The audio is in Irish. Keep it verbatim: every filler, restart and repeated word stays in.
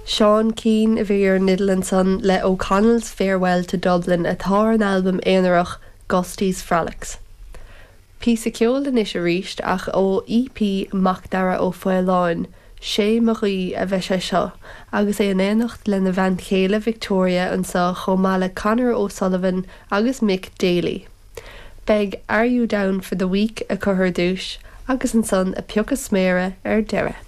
Seán Keane a bhí ar an fhidil ansan le O'Connell's Farewell to Dublin atá ar an albam aonarach Gusty's Frolics. Píosa ceoil anois arís ach ó EP Macdara Ó Faoláin, sé mo ghuí a bheidh sé seo, agus é in éineacht lena bhean chéile Victoria anseo chomh maith le Conor O'Sullivan agus Mick Daly. Beidh Are You Down for the Week acu ar dtús agus ansan a piocadh sméara ar deireadh.